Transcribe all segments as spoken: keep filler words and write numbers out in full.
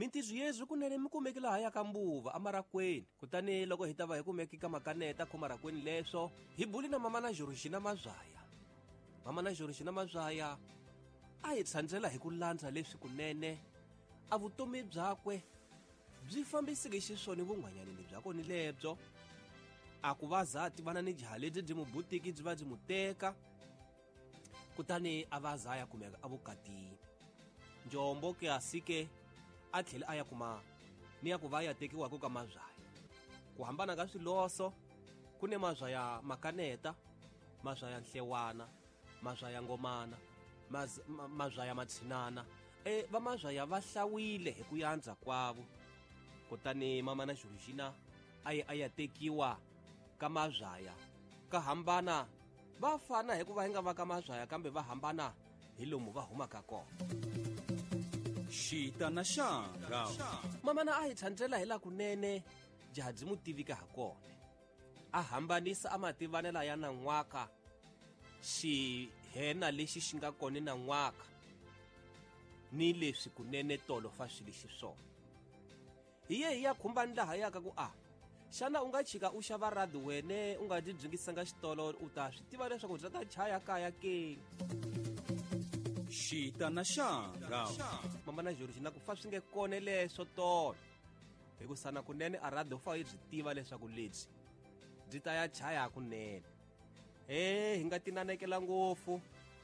Mintirho yezwi kunene mi kumeki laha ya ka Mbuva amarakweni. Kutani loko hi ta va hi kumeki ka makaneta khomarakweni leswo, hi buli na mama na Georgina Mazwaya. Mama na Georgina Mazwaya a hi tshandzela hi ku landza leswi kunene a vutomi byakwe byi fambiseke xiswona vun'wanyanini bya kona lebyo. A ku va za tivana ni jaha lebyi byi mubutiki byi va byi muteka, kutani a va za ya kumeka evukatini. Njombo ke a sike a tlhela a ya kuma ni ya ku va ya tekiwaka ka Mazwaya. Ku hambana ka swiloso, ku ne Mazwaya Makaneta, Mazwaya Nhlewana, Mazwaya Ngomana, maz, ma, Mazwaya Matshinana. E va Mazwaya va hlawile hi ku yandza kwavo. Kutani mama na Georgina a ye a ya tekiwa ka Mazwaya. Ka hambana va fana hikuva hi nga va ka Mazwaya, kambe va hambana hi lomu va humaka kona. Xita na xanga. Mama na a hi tshandzela hi la kunene jaha byi mu tivika ha kona. A hambanisa a mativanela ya nan'waka xihena lexi xi nga kona nan'waka ni leswi kunene tolo fa swi lexi swona. Hi ye hi ya khumbani laha yaka ku a xana u nga chika u xava radi wene u nga dyi byingisanga xitolo, u ta swi tiva leswaku bya ta chaya kaya ke. Xita na xanga. Mama na Georgina ku fa swi nge kone leswo tolo, hikusa na kunene a radio fa yi byi tiva leswaku lebyi byi ta ya chaya kunene. E hi nga tinanekela ngopfu,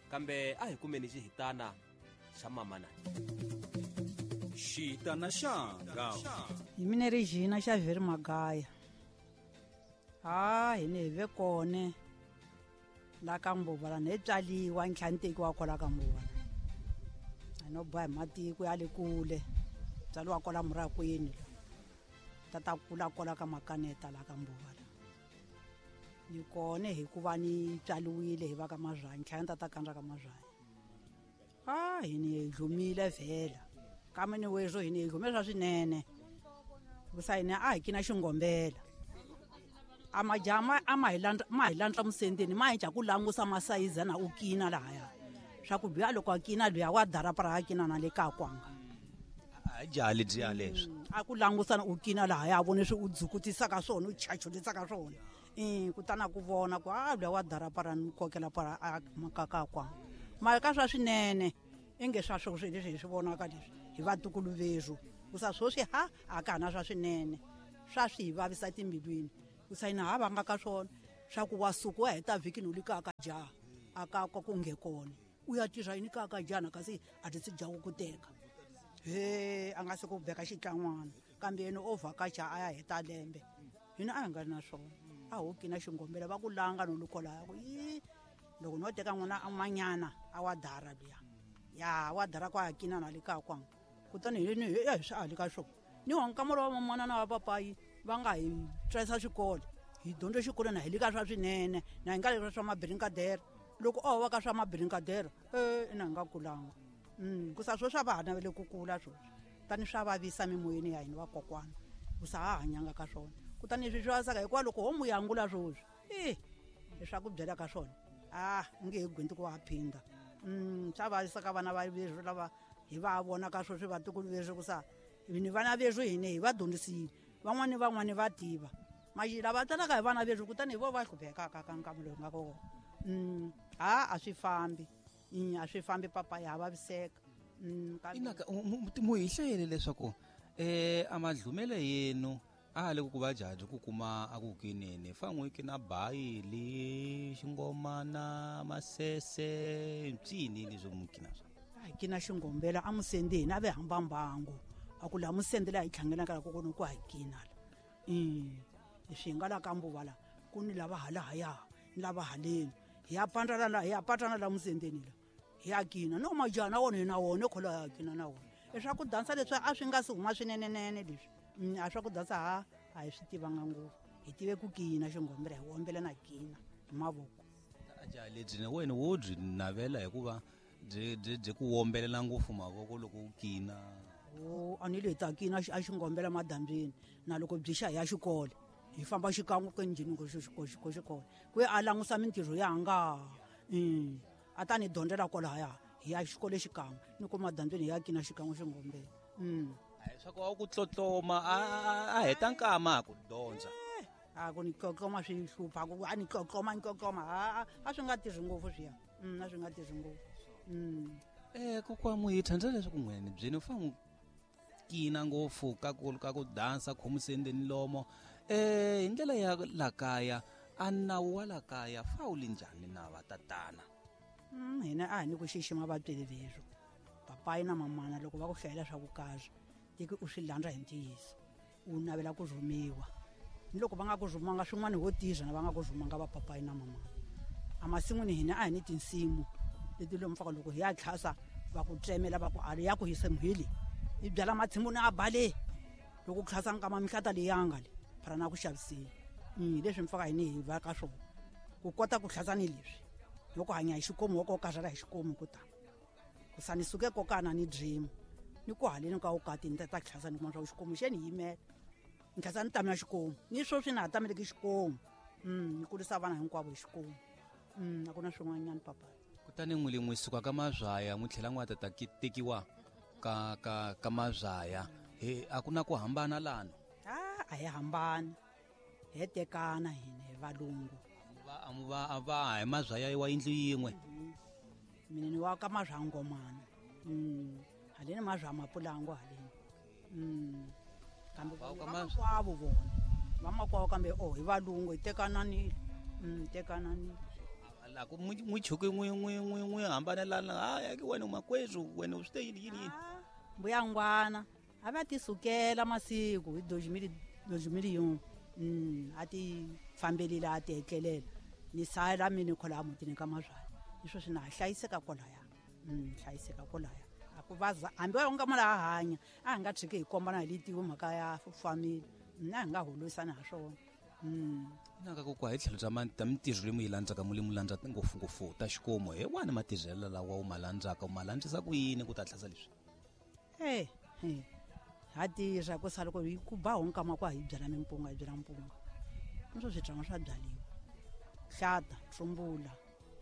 kambe a hi kumeni xihitana xa mama na. Xita na xanga. Hi mina Regina Xavier Magaya. Ha hi ne hi ve kone la ka Mbuva la ne tswaliwa ntlhanu tekiwa kwala ka Mbuva. A no boha hi matiko ya le kule, tswaliwa kwala Murakwini, tata kula kwala ka Makaneta la ka Mbuva la. Ni kone hikuva ni tswaliwile hi va ka Mazwaya, ntlhanu tata kandza ka Mazwaya. Ha hi ni dlumile vhela. Kambe ni wezo hi ni dlume swa swinene. Kusa hina a hi kina xingombela. A majama a ma hi landza, ma hi landza musendeni, ma hi dya ku langusa masayiza na u kina lahaya. Swa ku luya loko a kina luya wa darapara a kina na le ka kwanga. A jaha lebyiya leswi. A ku langusa na u kina lahaya, a vone swi u dzukutisaka swona, u chachulisaka swona. Eh, kutani a ku vona ku a luya wa darapara ni kokela para a makaka kwanga. Mara ka swa swinene inge swa sweswi leswi hi swi vonaka leswi hi vatukulu vezu. Kusa sweswi ha a ka ha na swa swinene, swa swi hi vavisa timbilwini. Kusa hina ha vanga ka swona swa ku wa suka wa heta vhiki ni u le kaya ka jaha, a ka ka ku nge kona. U ya tirha yini kaya ka jaha na kasi a ti se jaha ku teka. He a nga se ku veka xitlan'wana, kambe yena o vhakacha a ya heta lembe. Hina a hi nga ri na swona. A ho kina xingombela va ku langa no lukola ku yi loko no teka n'wana an'wanyana a wa dara luya. Ya wa dara kwa kina na le ka kwanga. Kutani hi ni hi swi ali ka swona. Ni wa nkamelo wa mamana na wa papayi va nga hi tsarisa xikolo. Hi dyondze xikolo na hi le ka swa swinene, na hi nga le ka swa mabirinkadere. Loko o va ka swa mabirinkadere, eh ina hi nga kulanga. Mm, kusa swo swa va ha navele ku kula sweswi. Tani swa vavisa mimoyeni ya hina vakokwana. Kusa ha hanyanga ka swona. Kutani leswi swi vavisaka hikuva loko ho mu yangula sweswi, eh leswaku byela ka swona. Ah, u nge he gwinti ku wa phinda. Mm, swa vavisa ka vana va veswi lava hi va vona ka sweswi vatukulu veswi kusa ni vana veswi hina hi va dyondzisile. Van'wani van'wani va tiva. Maxi lava talaka hi vana veswi kutani hi vo va hluphekaka ka nkarhi lowu nga kona. Mm, ha a swi fambi. Mm, a swi fambi papa ya vaviseka. Mm, kambe Inaka mu hi hlayele leswaku eh a madlumele yenu a le ku va jaji ku kuma a ku kinene fa n'wi kina bayi le xingomana masese ntsini leswi mu kina swa. A hi kina xingombela a musendeni a ve hamba mbangu. A ku la musendela hi tlhangana ka ku kona ku hi kina la. Mm, leswi hi nga la ka Mbuva la ku ni lava halahaya ni lava haleni. Hi ya pandza la, hi ya patana la musendeni la. Hi ya kina no majaha na wona hi na wona khola ya kina na wona. Leswaku dansa leswi a swi nga si huma swinenenene leswi. Mm, a swa ku dansa ha a hi swi tivanga ngopfu. Hi tive ku kina xingombela, hi wombela na kina hi mavoko. A jaha lebyi na wena wo byi navela hikuva byi, byi, byi ku wombelela ngopfu mavoko loko u kina. O, a ni le ta kina a xingombela madambyini na loko byi xa hi ya xikolo. Hi famba xikan'we ku njhini ku xi, xi, xi, xikolo. Ku a langusa mintirho ya nga. Mm. A ta ni dyondzela kwalahaya, hi ya xikolo xikan'we. Ni ku madambyini hi ya kina xikan'we xingombela. Mm. Swa ku a ku tlotloma a a heta nkama ku dyondza. A ku ni tlotloma swi hlupha ku a ni tlotloma ni tlotloma a a swi nga tirhi ngopfu swiya. Mm a swi nga tirhi ngopfu. Mm. Eh kokwa Muhitha ndza leswaku n'wene byeni u fanele kina ngopfu ka ku ka ku dansa khomusendeni lomo eh hi ndlela ya la kaya a nawu wa la kaya fa wu li njhani na va tatana? Mm hina a hi ni ku xixima vatswari veswo. Papayi na mamana loko va ku hlayela swa ku kahle tiki u swi landza hi ntiyiso u navela ku rhumiwa ni loko va nga ku rhumanga swin'wana ho tirha na va nga ku rhumanga va papayi na mamana. Emasin'wini hina a hi ni tinsimu leti lomu faka loko hi ya tlhasa va ku tsemela va ku a ya ku hisa muhili i byala matsimu na a bale loko tlhasa nkama mihlata leyanga le phara na ku xaviseni. Mm leswi mfaka hini hi va ka swona ku kota ku tlhasa ni leswi loko hanya hi xikomu wa ko karhala hi xikomu ku ta ku sani suke kokana ni dream ni ku haleni ka ukati ni ta ta tlhasa ni kuma swa xikomu xeni yimela ni tlhasa ni tamela xikomu ni sweswi na ha tameleki xikomu. Mm ni kurisa vana hinkwavo hi xikomu. Mm a ku na swin'wanyana papa. Kutani n'wi le n'wi suka ka Mazwaya n'wi tlhela n'wi ta tekiwa ka ka ka Mazwaya he a ku na ku hambana lana? A a hi hambani he tekana hina hi valungu. Va a mu va a va hi Mazwaya wa yindlu yin'we. Mina ni wa ka Mazwangomana. Mm haleni Mazwa Mapulango haleni. Mm kambe vamakwavo vona vamakwavo kambe o hi valungu hi tekananile. Mm tekananile. La ku n'wi chuki n'wi n'wi n'wi n'wi hambanelana ha ya ke wena makwezu wena u swi te yini yini yini. Mbuya ngwana a va ti sukela masiku hi dozimili dozimili yin'we. Mm a ti fambelile a ti etlelela ni sala mina khola mutini ka Mazwaya leswo swi na hlayiseka kwalaya. Mm hlayiseka kwalaya a ku vaza hambi wa nga mala a hanya a hi nga tshiki hi kombana hi letiwe mhaka ya family na hi nga holisana ha swona. Mm naka ku kwa hi tlhelo bya ta mintirho leyi mu yi landzaka mu le mu landza ngopfungopfu ta xikomu he wani matirhelo lawa u ma landzaka u ma landzisa ku yini ku ta tlhasa leswi? Eh ha tirha ku sala ku ku ba honkama kwa hi byala mimpunga hi byala mpunga niswo swibyariwa swa byaliwa hlata tsumbula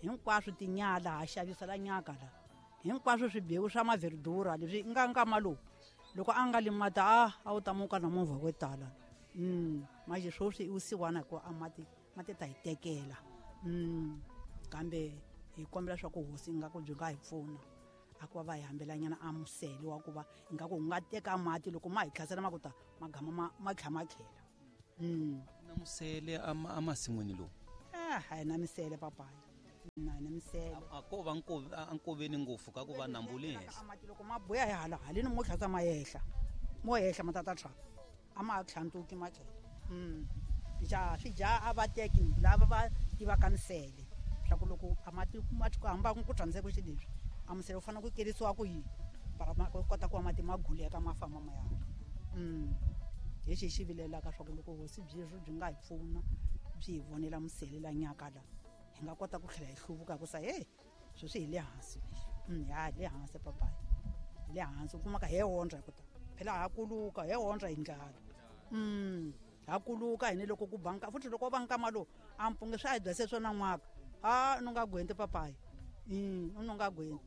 hinkwaswo tinyala ha xavisa la nyaka la hinkwaswo swibewu swa maverdura leswi nga nkama lowu loko a nga limata a a wu ta muka na movha wo tala. Mm manje sweswi u siwana ku a mati mati ta hi tekela. Mm kambe hi kombela swa ku hosi nga ku byi nga hi pfuna a ku va va hi hambelanyana a musele wa ku va nga ku nga teka mati loko ma hi tlhasela ma ku ta magama ma ma tlha ma tlhela. Mm na musele a masin'wini lowu? Ah ha na misele papayi na na misele a ko va a nkoveni ngopfu ka ku va nambu le henhla. Mati loko ma buya hi hala haleni mo tlhasa ma yehla mo yehla ma tata tshwa a ma tlhantuki ma tlhela. Mm ja swi ja a va teki lava va tivaka misele swa ku loko a mati ma ku hamba ku tshamiseka xi leswi a musele u fanele ku kerisiwa ku yini para ma kota ku va mati ma guleka ma famba ma ya. Mm hi xi xi vilelaka swa ku loko hosi byi byi nga hi pfuna byi hi vonela musele la nyaka la hi nga kota ku tlhela hi hluvuka ku sa hey sweswi hi le hansi. Mm ya le hansi papayi le hansi u kumaka he ondza ku ta phela ha kuluka he ondza hi ndlala. Mm ha kuluka hini loko ku banka futhi loko va nkama lowu a mpunge swi a hi byase swona n'waka a no nga gwenti papayi. Mm u no nga gwenti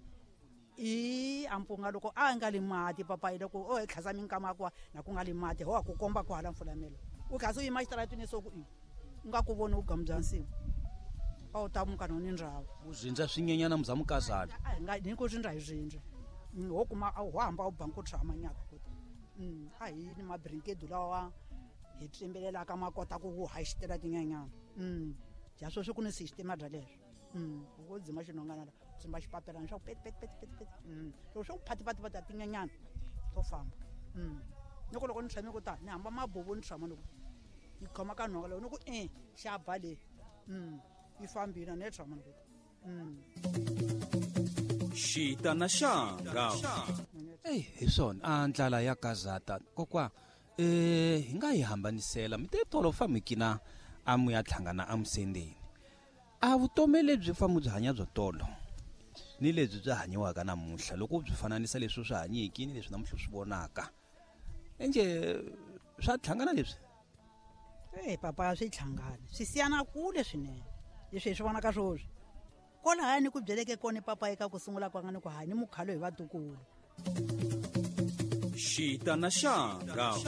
i a mpunga loko a nga li mati papayi loko o hi tlhasa minkama kwa na ku nga li mati ho ku komba ku hala mfulamelo u tlhasa u yima xitaratini so ku i u nga ku voni u gamu bya nsimu a wu ta muka no ni ndhawu u zindza swinyenyana muza mukazana a hi nga ni ku zindza hi zindza ho kuma ho hamba u banku tshama nyaka ku ta mm a hi ni mabrinkedu lawa hi tsimbelelaka ma kota ku wu haxitela tinyenyana. Mm ja sweswi ku ni system bya leswo. Mm u dzima xinongana la tsimba xipapelana swa ku pet pet pet pet pet. Mm loko swo phati phati phati tinyenyana to famba. Mm loko loko ni tshame ku ta ni hamba mabubu ni tshama loko ni khoma ka nhonga loko ni ku eh xa ba le. Mm yi fambile ni tshama loko. Mm Xitana xanga. Ey hi swona a ndlala ya kazata kokwa eh hi nga yi hambanisela mi te tolo famikina a mu ya tlhangana a musendeni a vutomi lebyi famu byi hanya byo tolo ni lebyi byi hanyiwaka namuntlha loko byi fananisa leswi swi hanyiki ni leswi namuntlha swi vonaka enje swa tlhangana leswi? Eh papa swi tlhangana swi siyana kule swinene leswi hi swi vonaka swoswi kwalaya ni ku byeleke kona papa eka ku sungula kwanga ni ku hanyi mukhalo hi vatukulu. Xita na xanga.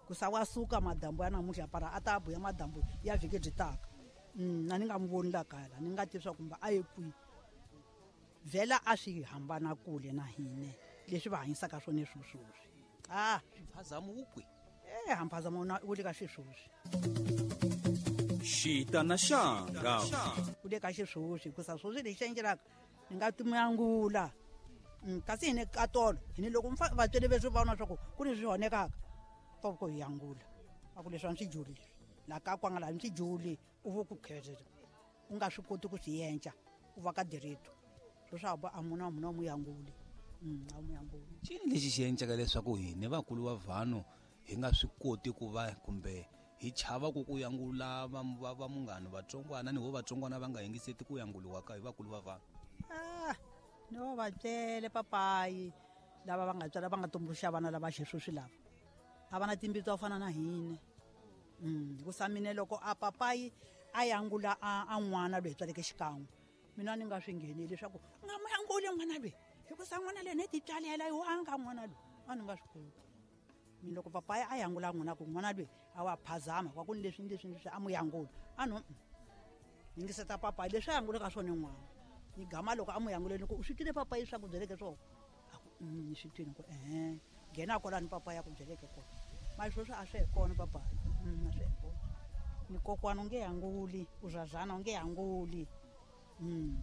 Ku sa wa suka madambu ya namuntlha para a ta buya madambu ya vhiki byi taka. Mm, na ni nga n'wi voni la kaya la, ni nga tivi swa kumbe a ye kwihi. Vhela a swi hambana kule na hina leswi va hanyisaka swona sweswi. Ah, mphazamo wu kwihi? Eh, mphazamo wu le ka xisweswi. Xita na xanga. Wu le ka xisweswi hikusa sweswi lexi endlelaka ni nga timuyangula. Mm, kasi hina ka tolo hina loko vatswari veswi va vona swa ku ku ni swi honekaka va ku hi yangula. A ku leswi a swi juli la ka kwanga la swi juli u vo ku khetha u nga swi koti ku swi endla u va ka direto leswaku a muna muna mu yanguli. Mm, a mu yanguli. Cini lexi xi endlaka leswaku hina vakulu va vanhu hi nga swi koti ku va kumbe hi chava ku ku yangula va va va munghana vatsongwana ni vo vatsongwana va nga yingiseti ku yanguliwa ka hi vakulu va vanhu? Ah, no va byele papayi lava va nga tswala va nga tumbuluxa vana lava xisweswi lava a va na timbitsi to fana na hina. Mm, hikusa mina loko a papayi a yangula a, a n'wana loyi tswaleke xikan'we mina ni nga swi ngheneli leswaku u nga mu yanguli n'wana loyi hikusa n'wana loyi ni ti tswalela yo a nga n'wana loyi a ni nga swi koti. Mina loko papayi a yangula n'wana ku n'wana loyi a wa phazama kwa ku ni leswi ni leswi ni leswi a mu yangula a no yingiseta papayi leswi a yangulaka swona n'wana ni gama loko a mu yanguleni ku u swi twile papayi swa ku byeleke swona a ku ni swi twile ku ehe nghena kwalani papayi a ku byeleke kona mali sweswi a swi he kona papayi. Mm, a swi he kona ni kokwana u nge yanguli u zazana u nge yanguli. Mm,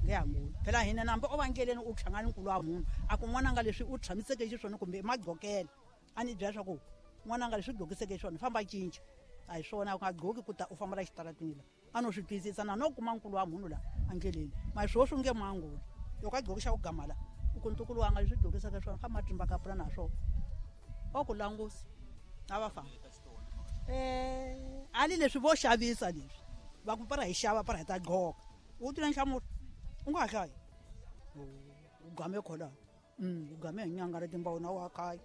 nge yanguli phela hina nambe o va ndleleni u hlangana nkulu wa munhu a ku n'wananga leswi u tshamiseke xiswona kumbe magqokele a ni byela swa ku n'wananga leswi u gqokiseke xiswona famba cinca a hi swona u nga gqoki ku ta u famba la xitaratini la a no swi twisisa na no kuma nkulu wa munhu la endleleni mali sweswi u nge mu yanguli loko a gqoki xa ku gama la u ku ntukulu wanga leswi gqokiseke swona famba trimba kapula na swona o ku langusa a va famba. Eh, ali leswi vo xavisa leswi va ku para hi xava para hi ta gqoka u twile nhlamulo u nga ha hlayi u game kholani. Mm, u game hi nyanga ra timbawu na wa khaya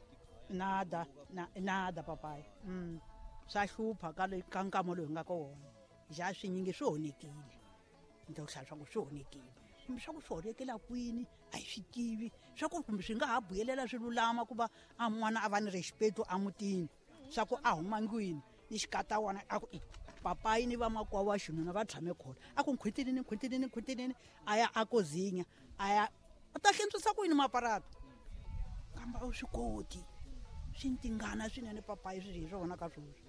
nada na nada papayi. Mm, swa hlupha ka le ka nkama lowu hi nga ka wona ja swinyingi swi honekile ni ta ku hlaya swa ku swi honekile kumbe swa ku swi honekela kwini a hi swi tivi swa ku kumbe swi nga ha buyelela swi lulama ku va a n'wana a va ni respect emutini swa ku a huma ndlwini ni xikata wona a ku papayi ni vamakwavo wa xinuna va tshame khona a ku nkhwitinini nkhwitinini nkhwitinini a ya a kozinya a ya u ta hlentswisa ku yini maparata kambe a wu swi koti swi ni tingana swinene papayi swi hi swona ka sweswi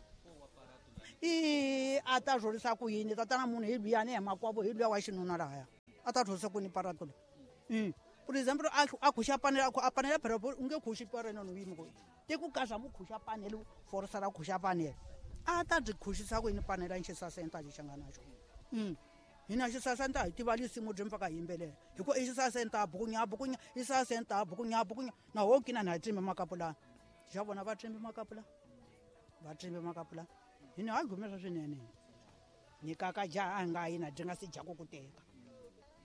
i a ta rhurisa ku yini tatana munhu hi luyani hi makwavo hi luya wa xinuna lahaya a ta rhurisa ku yini parato leyi. For example a a khuxa panele a panele phela u nge khuxi parene no yimi ku te ku kaza mu khuxa panele forsa ra khuxa panele a ta byi khuxisa ku yini panele a xisasenta xi nga na xona. Mm, hina xisasenta hi tiva lisimu byi mpfaka hi yimbelela hi ku i xisasenta bukunya bukunya xisasenta bukunya bukunya na ho kina na hi trimbe makapulana xa vona va trimbe makapulana va trimbe makapulana hina ha gumesa swinene ni kaka jaha a hi nga yi na dyi nga si dya ku ku teka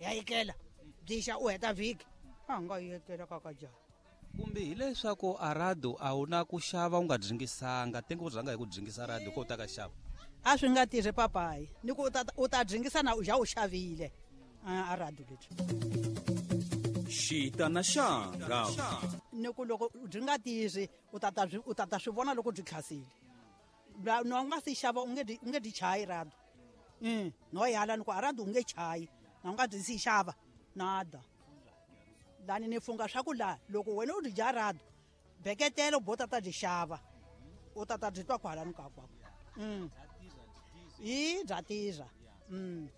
ya yikela byixa u heta vhiki a nga yekela kaka jaha. Kumbe hileswaku a radio a wu na ku xava u nga dringisanga tenge u rhanga hi ku dringisa radio ko u ta ka xava a swi nga tirhi papayi ni ku u ta u ta dringisa na u ja u xavile a radio lebyi. Xita na xanga. Ni ku loko byi nga tirhi u ta ta u ta ta swi vona loko byi khasile no u nga si xava u nge u nge dyi chayi radio. Mm, no yala ni ku a radio u nge chayi na u nga dyi si xava nada lani ni funga swa ku la loko wena u dyi dya radio beketelo bo ta ta dyi xava u ta ta dyi twa kwalani ka kwako. Mm, i bya tirha. Mm,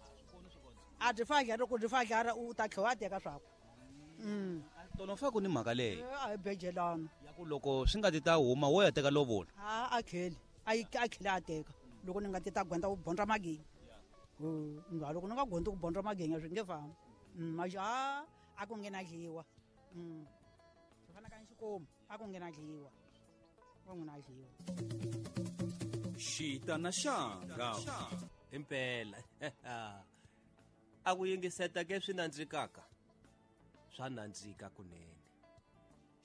a dyi fadlara loko dyi fadlara u ta tlhela wa teka swaku. Mm, tolo fa ku ni mhaka leyi a hi bejelana ya ku loko swi nga ti ta huma wo ya teka lovola a a kheli a yi a kheli a teka loko ni nga ti ta gwenda ku bondra magenya nga loko ni nga gondi ku bondra magenya swi nge fambi. Mm, a a ku nge na dliwa. Mm, swi fana ka xikomu a ku nge na dliwa ku nge na dliwa. Xita na xanga. Impela a ku yingiseta ke swi nandzikaka swa nandzika kunene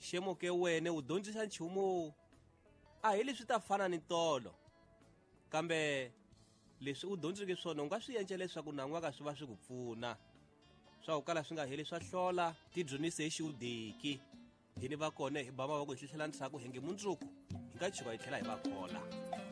xemo ke wena u dyondzisa nchumu a hi leswi ta fana ni tolo kambe leswi u dyondzeke swona u nga swi endla leswaku nan'waka swi va swi ku pfuna swa ku kala swi nga heli swa hlola ti dyondzise hi xiudeki. Hini va kona hi ba mavoko hi hlihlela ndzhaku hi nge mundzuku hi nga tshuka hi tlhela hi va khola.